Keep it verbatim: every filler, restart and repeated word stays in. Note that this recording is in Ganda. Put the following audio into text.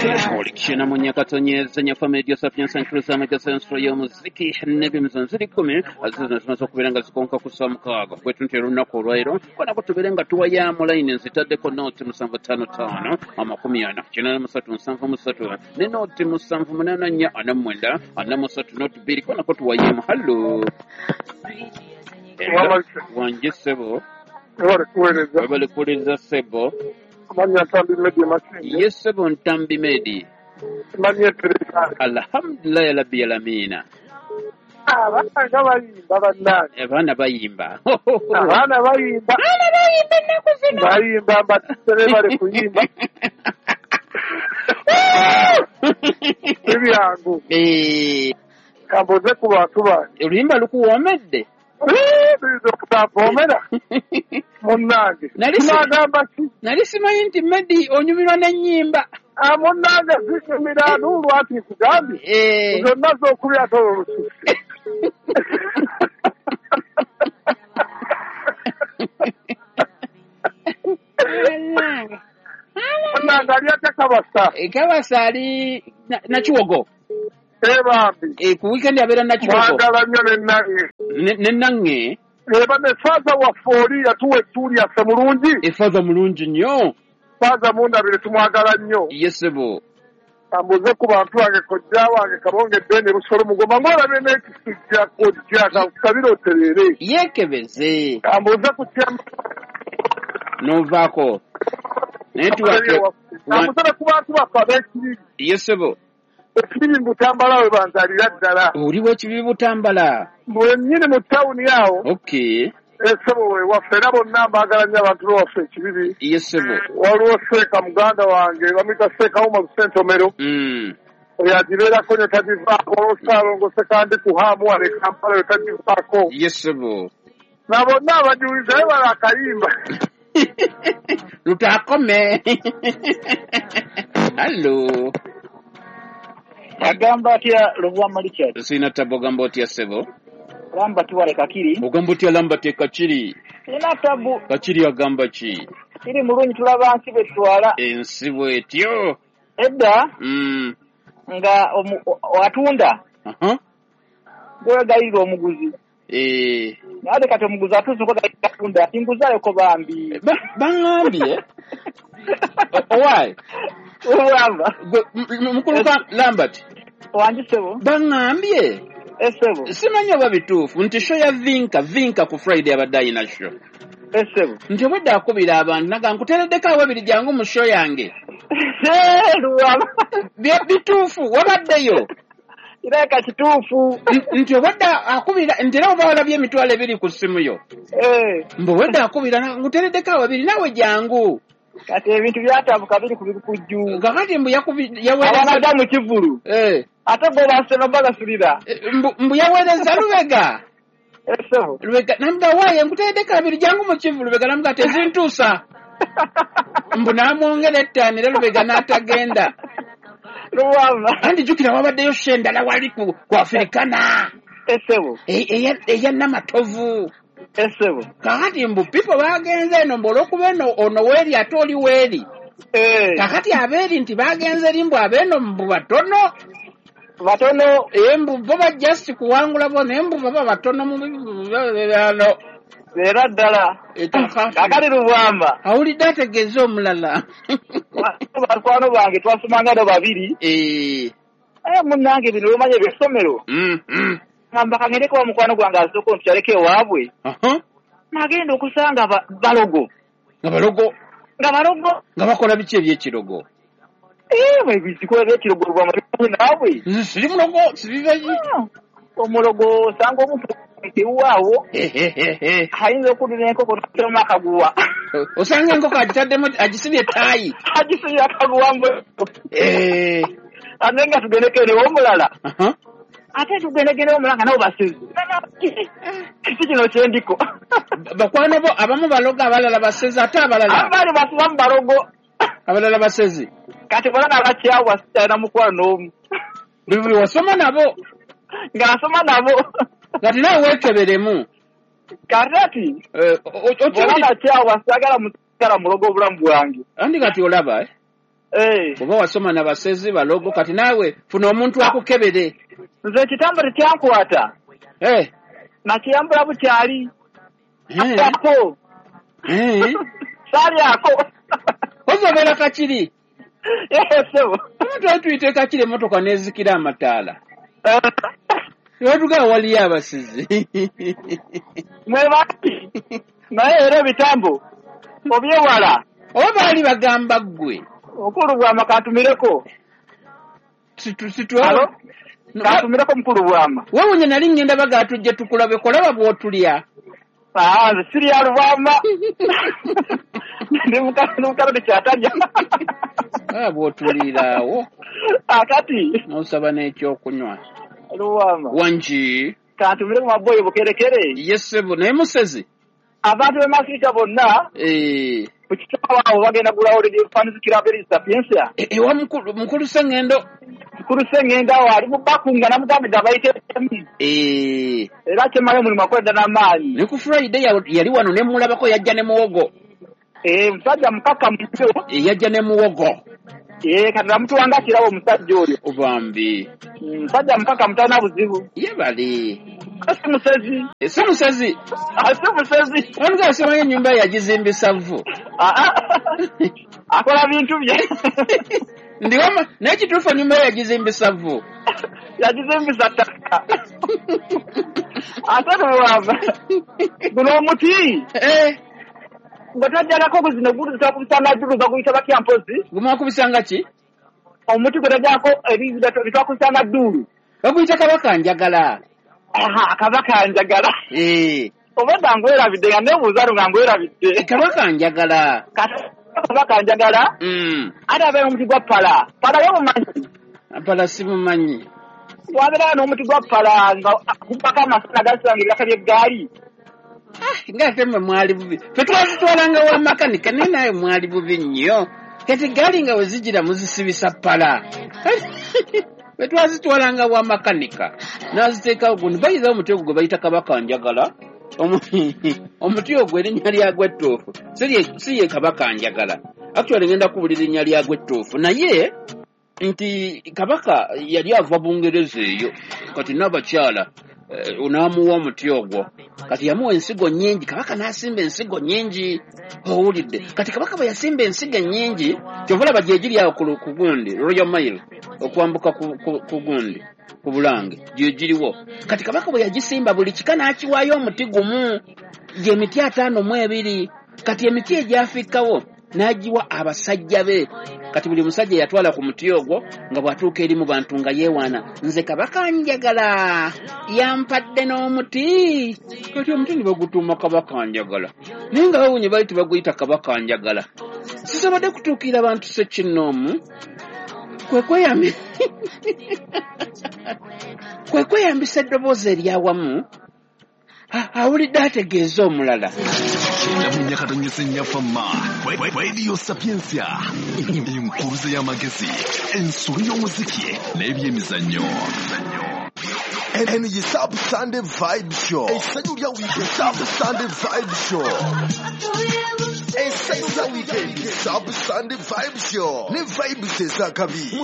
Olikishena munyakatonyeza family Sapiens and Cruz amagasenso y'omuziki n'ebimizo ziri kkumi azizo zimaze okubeera nga zikonka ku ssaawa mukaaga bwetunti olunaku olwaleero konako tubeere nga tuwayaamu layini nzitaddeko nooti musanvu ttaano ttaano amakumi ana kinaana musatu nsanvu musatu ne nooti musanvu munaana nnya ana mwenda ana musatu nooti bbiri konako tuwayeemu. Hallo, wange ssebo. Webale kuweereza ssebo. Yes, ssebo Ntambi Medi. Alhamdulillah rabbil alamin. Abaana bayimba bannange. Abaana bayimba. Abaana bayimba. Abaana bayimba ennaku zino. Bayimba mbatisere bali kuyimba. Si byangu. Kambuze ku bantu bange. Oluyimba lukuwoomedde. Biyinza okutampoomera munnange. Tunagamba ki? Nali simanyi nti Medi onyumirwa n'ennyimba. Munnange zinyumira n'olwati nkugambye. Zonna z'okubya ate olwo lususse. Munnange ali atya Kabasa? Kabasa ali Nakiwogo. Ebambi. Ku weekend abeera Nakiwogo. Mwagala nnyo ne Nange. Ne Nange? Eba ne faaza waffe oli yatuwa ettuuli yaffe mulungi. Efaaza mulungi nnyo. Faaza mundabire tumwagala nnyo. Yes ssebo. Kambuze ku bantu bange kojja wange Kabonge Bene Busolo Mugoma ng'olabye n'ekisujja kojja kankusabire otereere. Yeekebeze. Kambuze ku kyama. N'ovaako. Naye tuwake. Kambuze ne ku bantu baffe ab'ekibibi. Yes ssebo. Ekibibi mu Butambala we banzaalira ddala. Oli w'ekibibi Butambala? Mwennyini mu tawuni awo. Okay. Essebo we waffe era bonna mbaagala nnyo abantu bewaffe ekibibi. Yes ssebo. Waliwo Seeka muganda wange bamuyita Seeka Umar Ssentomero. Oyo agibeerako nnyo tagivaako. Waliwo Ssaalongo Ssekandi ku Haamu wano e Kampala oyo tagivaako. Yes ssebo. Na bonna abajuliza naye bala akayimba. Lutakome. Hallo. Agamba atya Lubwama Richard? Sina tabu. Ogamba otya ssebo? Lamba tuwale Kakiri. Ogamba otya Lamba te Kakiri? Sina tabu. Kakiri agamba ki? Kiri mulungi tulaba nsi bwe tutwala. Ensi bw'etyo. Edda mm. nga atunda uh-huh. gwegayirira omuguzi. Eh. Naye kati omuguzi atuuse okwegayirira atunda tinguzayoko bambi. Baŋŋambye owaaye Lubwama. Mukulu Lambert. Wangi ssebo. Baŋŋambye. Essebo. Simanyi oba bituufu nti show ya Vinka Vinka ku Friday abadde ayina show. Essebo. Nti obwedda akubira abantu naga nkuteereddeko awabiri jangu mu show yange. Lubwama. Bituufu wabaddeyo. Kireka kituufu. Nti obwedda akubira nti era oba walabye emitwalo ebiri ku ssimu yo. Eh. Mbu obwedda akubira nkuteereddeko awabiri naawe jangu. Kati ebintu byatabuka biri ku bikujju. Kakati mbu yaweereza abanaga mu kivulu. Eh. Ate bo basema bagasulira. Mbu mbu yaweereza Lubega. Essebo. Lubega namuga waaye nkuteereddeko abiri jangu mu kivulu. Lubega namuga tezintuusa. Mbu n'amwongera ettaano era Lubega n'atagenda. Lubwama. Anti jjukira wabaddeyo show endala wali ku ku Africana. Essebo. Eya Namatovu. Essebo. Kakati mbu people bagenze eno mbu olw'okuba eno ono weeri ate oli weeri. Kakati abeeri nti bagenze eri mbu abeeno mbu batono. Batono. Ee mbu bo bajja si kuwangula bo naye mbu baba batono mu ano. Era ddala. Kakati Lubwama. Awulidde ategeeze omulala. Bakwano bange twasomanga nabo babiri. Eh. Eh munnange bino bimanye eby'essomero. Ngamba kangereko wa mukwano gwange asooka ontukyaleko ewaabwe. Nagenda okusanga balogo. Nga balogo? Nga balogo. Nga bakola biki ebyekirogo? Eh, bwe ebyekirogo Lubwama naabwe. Siri mulogo, siri bayi. Omulogo osanga omuntu ewaawo. Ayinza okudira enkoko n'atema akaguwa. Osanga enkoko agitaddemu agisibye ettaayi. Agisibye akaguwa mbu. Eh. Ate nga tugendekere omulala. Ate tugendegere omulala nga nabo basezi. Kiki kino kyendiko. Bakwano bo abamu balogo abalala basezi ate abalala. Abali basibamu balogo. Abalala basezi. Kati bona abakyawa sitalina mukwano n'omu. Buli wasoma nabo. Nga nasoma nabo. Kati naawe weekeberemu. Kakati. Bona abakyawa saagala musigala mulogo obulamu bwange. Andi kati olaba eh? Eh. Oba wasoma na basezi balogo kati naawe funa omuntu akukebere. Nze ekitambo tekyankwata. Eh. Nakiyambula bukyali. Eh. Ako. Eh. Salyako. Ozobeera Kakiri. Eh, ssebo. Omuntu atuyite Kakiri emmotoka n'ezikira amataala. Watugaa waliyo abasizi. Mwebaki. Naye era ebitambo obyewala. Oba baali bagamba ggwe. Mukulu Bwama kantumireko. Situ situ alo. Kantumireko mukulu Bwama. Wewe nali ngenda baga tujje tukulabe kolaba bw'otulya. Ah, nze sirya Lubwama. Ndi mukalo kyatalya. Ah, bw'otuliraawo. Akati. N'osaba n'ekyokunywa. Lubwama. Wangi. Kantumireko maboyi bukerekere. Yes ssebo, naye musezi. Abantu b'e Masika bonna. Eh. Ku kitabo awo bagenda gulawo fanizikira beri Sapientia. Ewa mukulu mukulu Sengendo. Mukulu Sengendo awo ali mu bakunga namugambidde abayite emi. Eh. Era kyemala omulimu akoledda n'amaanyi. Ne ku Friday yali wano ne mulabako yajja ne muwogo. Eh, musajja mukakkamu nnyo. Eh, yajja ne muwogo. Eh, kati namutuwanga kirabo omusajja oyo. Obambi. Musajja mukakkamu talina buzibu. Ye bali. Si musezi. Si musezi. Si musezi. Waliwo asoma ennyumba yagizimbisa vvu. Akola bintu bye. Ndi wama naye kituufu ennyumba yagizimbisa vvu. Yagizimbisa ttaka. Ate Lubwama. Guno omuti. Eh. Nga twajjalako guzino gutwakubisanga jjulu baguyita batya mpozi? Gumwakubisanga ki? Omuti gwe twajjalako ebitwakubisanga dduulu. Baguyita Kabaka Njagala. Aha, Kabaka Njagala. Eh. Obadda ngwerabidde nga neebuuza nga ngwerabidde. Kabaka Njagala. Kati Kabaka Njagala. Mm. Ate abeera omuti gwa ppala. Ppala yo mumanyi? Ppala simumanyi. Wabeerayo n'omuti gwa ppala nga gubako amasana gasanga ebiraka by'eggaali. Ah, ng'ate mmwe mwali bubi. Ffe twazitwalanga wa makanika naye naawe mwali bubi nnyo. Kati eggaali nga we zigira muzisibisa ppala. Ffe twazitwalanga wa makanika. N'aziteekawo gundi. Bayizawo omuti ogwo gwe bayita Kabaka Njagala. Omuti ogwo erinnya lyagwo ettuufu. Si ye Kabaka Njagala. Actually ngenda kubuulira erinnya lyagwo ettuufu. Naye nti Kabaka yali ava Bungereza eyo. Kati n'abakyala n'amuwa omuti ogwo. Kati yamuwa ensigo nnyingi. Kabaka n'asimba ensigo nnyingi. Owulidde. Kati Kabaka bwe yasimba ensigo ennyingi, kyova olaba gye giri awo ku gundi, Royal Mile, okwambuka ku gundi, ku Bulange, gye giriwo. Kati Kabaka bwe yagisimba buli kika n'akiwaayo omuti gumu, gy'emiti ataano mu ebiri. Kati emiti egyafikkawo n'agiwa abasajja be. Kati buli musajja yatwala ku muti ogwo nga bw'atuuka eri mu bantu nga yeewaana, nze Kabaka Njagala yampadde n'omuti. Kati omuti ne bagutuuma Kabaka Njagala. Naye nga bawunye baali tebaguyita Kabaka Njagala. Sisobodde kutuukirira bantu ssekinnoomu kwe kweyambi kwe kweyambisa eddoboozi eryawamu awulidde ategeeza omulala. Radio Sapientia, enkuruze y'amagezi, ensolo y'omuziki n'ebyemizannyo. Eno ye Sub Sunday Vibe Show. Essanyu lya weekend, Sub Sunday Vibe Show. Essanyu lya weekend, Sub Sunday Vibe Show. Ne vibes ez'akabi.